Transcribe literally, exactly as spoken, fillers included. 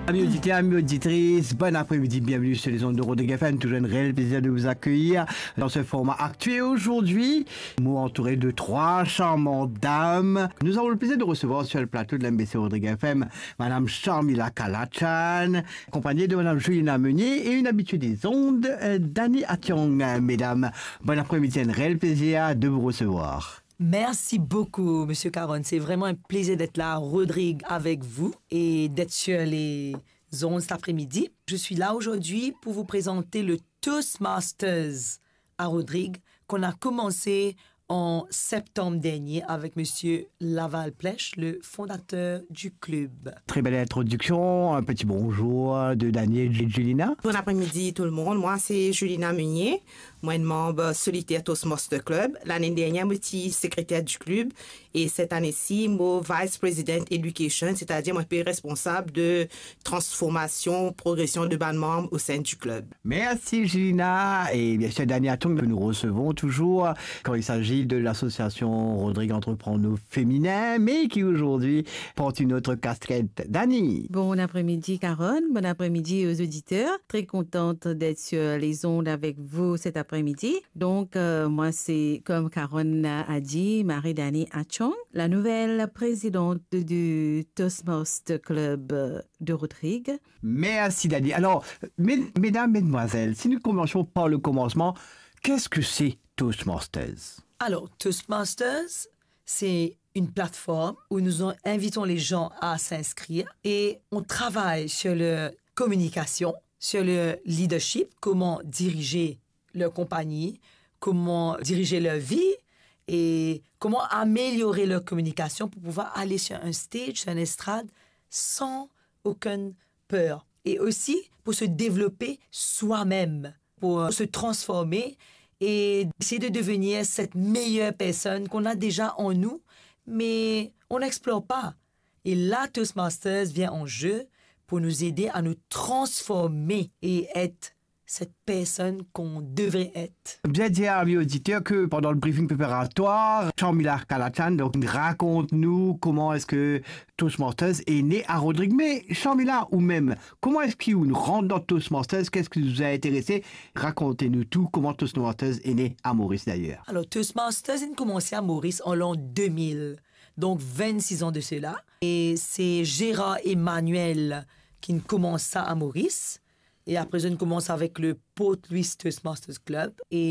Amis auditeurs, amis auditrices, bon après-midi, bienvenue sur les ondes de Rodrigue F M. Toujours un réel plaisir de vous accueillir dans ce format Actu. Et aujourd'hui, moi entouré de trois charmantes dames, nous avons le plaisir de recevoir sur le plateau de l'M B C Rodrigue F M Madame Sharmila Kalachan, accompagnée de Madame Julina Meunier et une habituée des ondes, euh, Dani Ationg. Mesdames, bon après-midi, un réel plaisir de vous recevoir. Merci beaucoup, Monsieur Caron. C'est vraiment un plaisir d'être là à Rodrigue avec vous et d'être sur les ondes cet après-midi. Je suis là aujourd'hui pour vous présenter le Toastmasters à Rodrigue qu'on a commencé en septembre dernier avec Monsieur Laval Plèche, le fondateur du club. Très belle introduction. Un petit bonjour de Dani et Julina. Bon après-midi tout le monde. Moi, c'est Julina Meunier. Moi, une membre solitaire Toastmaster Club. L'année dernière, moi, j'étais secrétaire du club. Et cette année-ci, moi, vice president education, c'est-à-dire, moi, je suis responsable de transformation, progression de bann manm au sein du club. Merci Julina et bien sûr Dani Ationg que nous recevons toujours quand il s'agit de l'association Rodrigue Entreprendre au Féminin, mais qui aujourd'hui porte une autre casquette. Dani. Bon après-midi Caron, bon après-midi aux auditeurs. Très contente d'être sur les ondes avec vous cet après-midi. Donc, euh, moi, c'est, comme Caron a dit, Marie-Dani Ationg, la nouvelle présidente du Toastmaster Club de Rodrigue. Merci Dani. Alors, mes- mesdames, mesdemoiselles, si nous commençons par le commencement, qu'est-ce que c'est Toastmasters ? Alors, Toastmasters, c'est une plateforme où nous en- invitons les gens à s'inscrire et on travaille sur leur communication, sur leur leadership, comment diriger leur compagnie, comment diriger leur vie et comment améliorer leur communication pour pouvoir aller sur un stage, sur une estrade, sans aucune peur. Et aussi pour se développer soi-même, pour se transformer et essayer de devenir cette meilleure personne qu'on a déjà en nous, mais on n'explore pas. Et là, Toastmasters vient en jeu pour nous aider à nous transformer et être cette personne qu'on devrait être. Bien dire, amis auditeurs, que pendant le briefing préparatoire, Sharmila Kalachan, donc, raconte-nous comment est-ce que Toastmasters est né à Rodrigue. Mais Sharmila, ou même, comment est-ce que vous rentrez dans Toastmasters ? Qu'est-ce qui vous a intéressé ? Racontez-nous tout, comment Toastmasters est né à Maurice d'ailleurs. Alors, Toastmasters a commencé à Maurice en l'an deux mille, donc vingt-six ans de cela. Et c'est Gérard Emmanuel qui a commencé ça à Maurice. Et après, on commence avec le Port Louis Toastmasters Club. Et